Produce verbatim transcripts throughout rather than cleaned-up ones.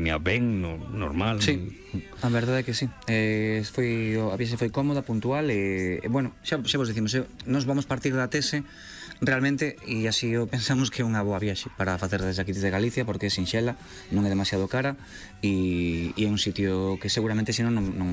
pandemia ben, no, normal. Sí, a verdade é que sí. Eh, foi, a viaxe foi cómoda, puntual e, e bueno, xa, xa vos dicimos, eh, nos vamos partir da tese realmente, e así o pensamos que é unha boa viaxe para facer desde aquí desde Galicia, porque é sinxela, non é demasiado cara e, e é un sitio que seguramente senón non, non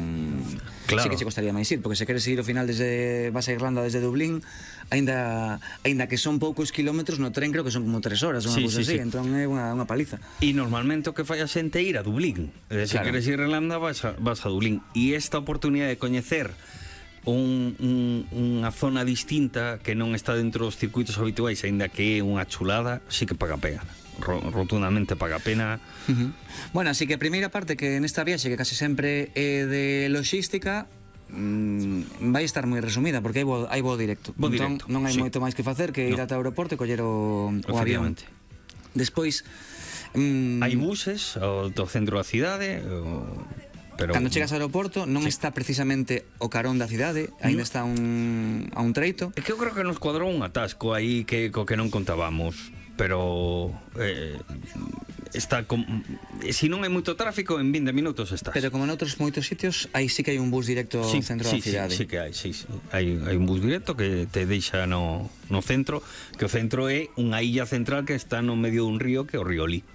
claro. sí que che costaría máis ir, porque se queres ir ao final desde vas a Irlanda desde Dublín, aínda aínda que son poucos kilómetros no tren, creo que son como tres horas, unha sí, cousa sí, así, sí. entón é unha, unha paliza. E normalmente o que fai a xente é ir a Dublín. Se claro. queres ir a Irlanda vas a, vas a Dublín. E esta oportunidade de coñecer un, un, unha zona distinta que non está dentro dos circuitos habituais, aínda que é unha chulada, sí que paga pena. Rotundamente paga pena. Uh-huh. Bueno, así que a primeira parte, que nesta viaxe que casi sempre é de logística, mm, vai estar moi resumida, porque hai voo, hai voo directo. Voo entón directo, non hai sí. moito máis que facer que ir no. ata o aeroporto e coller o, o avión. Despois mm, hai buses ao, do centro da cidade o... Pero... Cando chegas ao aeroporto non sí. está precisamente o carón da cidade, aínda no. está un, a un treito. É que eu creo que nos cuadrou un atasco aí que, co que non contábamos. Pero eh, está com... si non hai moito tráfico, en vinte minutos estás. Pero como noutros moitos sitios, aí sí que hai un bus directo ao sí, centro sí, da cidade. Sí, sí que hai, sí, sí. Hai, hai un bus directo que te deixa no, no centro, que o centro é unha illa central que está no medio dun río, que é o río Lee,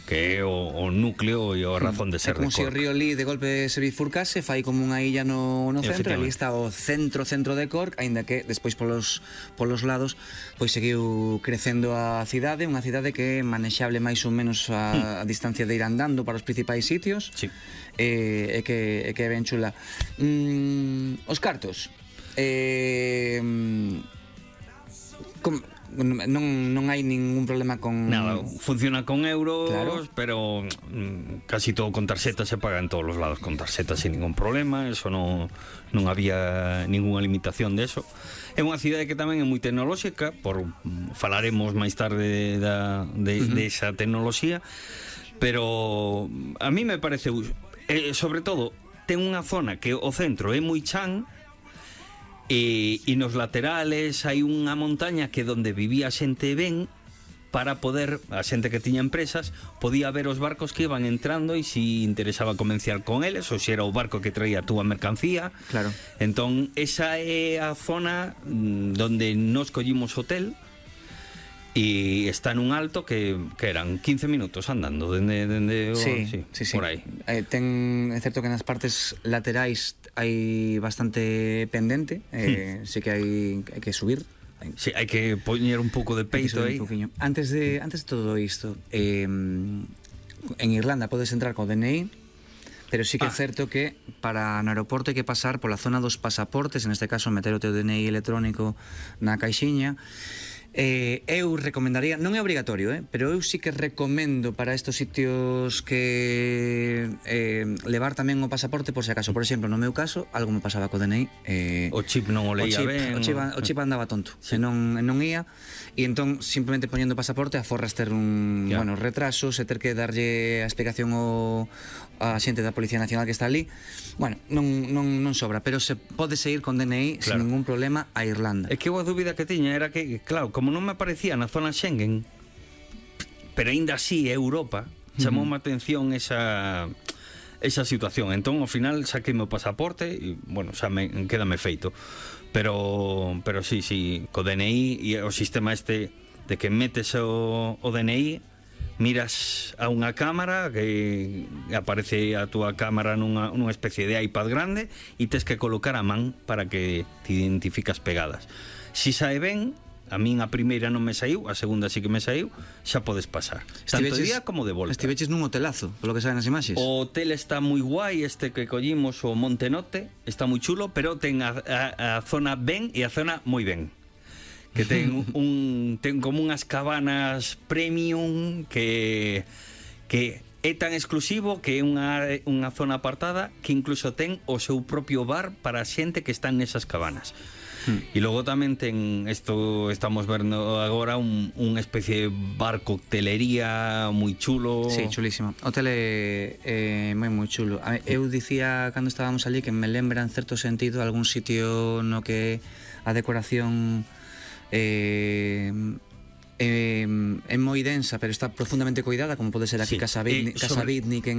que é o, o núcleo e a razón de ser de Cork. É como se o río Lee de golpe se bifurcase, fai como unha illa no, no centro, ali está o centro centro de Cork, aínda que despois polos, polos lados pois seguiu crecendo a cidade, unha cidade que é manexable máis ou menos a, a distancia de ir andando para os principais sitios. Sí. E, e, que, e que é ben chula. Mm, os cartos. Eh, com, non, non hai ningún problema con... Nada, funciona con euros, claro. Pero mm, casi todo con tarxeta, se paga en todos os lados con tarxeta sin ningún problema, eso non, non había ninguna limitación de eso. É unha cidade que tamén é moi tecnolóxica, por falaremos máis tarde da, de, uh-huh. de esa tecnoloxía, pero a mí me parece, eh, sobre todo, ten unha zona que o centro é moi chan, E, e nos laterales hai unha montaña que donde vivía xente ben, para poder, a xente que tiña empresas podía ver os barcos que iban entrando e si interesaba comerciar con eles, ou se era o barco que traía a túa mercancía. Claro. Entón esa é a zona donde nos collimos hotel, e está nun alto que, que eran quince minutos andando dende, dende o, sí, sí, sí, sí. por aí. Eh, ten, é certo que nas partes laterais hai bastante pendente, eh, hmm. sí que hai, hai que subir. Sí, hai que poñer un pouco de peito aí. Antes de, antes de todo isto, eh, en Irlanda podes entrar co D N I, pero sí que é ah. certo que para no aeroporto hai que pasar pola zona dos pasaportes, en este caso meter o teu D N I electrónico na caixiña. Eh, eu recomendaría, non é obrigatorio, eh, pero eu sí que recomendo para estos sitios que eh, levar tamén o pasaporte por se acaso. Por exemplo, no meu caso, algo me pasaba co D N I, eh, o chip non o leía ben, o chip, o chip andaba tonto, sí. e non, non ia, e entón simplemente poñendo o pasaporte aforras ter un, yeah. bueno, retrasos e ter que darlle a explicación ao a xente da Policía Nacional que está ali. Bueno, non, non, non sobra, pero se pode seguir con D N I claro. sin ningún problema a Irlanda. É que a dúbida que tiña era que, claro, como non me aparecía na zona Schengen, pero aínda así é Europa, chamoume uh-huh. a atención esa esa situación. Entón, ao final, saquei o pasaporte e, bueno, xa me, quédame feito. Pero, pero sí, sí, co D N I e o sistema este de que metes o, o D N I, miras a unha cámara que aparece a túa cámara nunha, nunha especie de iPad grande e tes que colocar a man para que te identificas pegadas. Si sae ben, a min a primeira non me saiu, a segunda sí que me saiu, xa podes pasar. Tanto de día como de volta. Estiveches nun hotelazo, polo que saben as imaxes. O hotel está moi guai, este que collimos, o Montenote, está moi chulo, pero ten a, a, a zona ben e a zona moi ben. Que ten un ten como unhas cabanas premium que que é tan exclusivo que é unha unha zona apartada que incluso ten o seu propio bar para a xente que está nesas cabanas. Hmm. E logo tamén ten isto, estamos vendo agora un unha especie de bar coctelería moi chulo. Sí, chulísimo. O hotel é eh, moi moi chulo. Eu dicía cando estábamos ali que me lembra en certo sentido algún sitio no que a decoración Eh, eh, é moi densa, pero está profundamente coidada, como pode ser aquí sí, Casa Bitnik, eh, sobre... Casa Bitnik en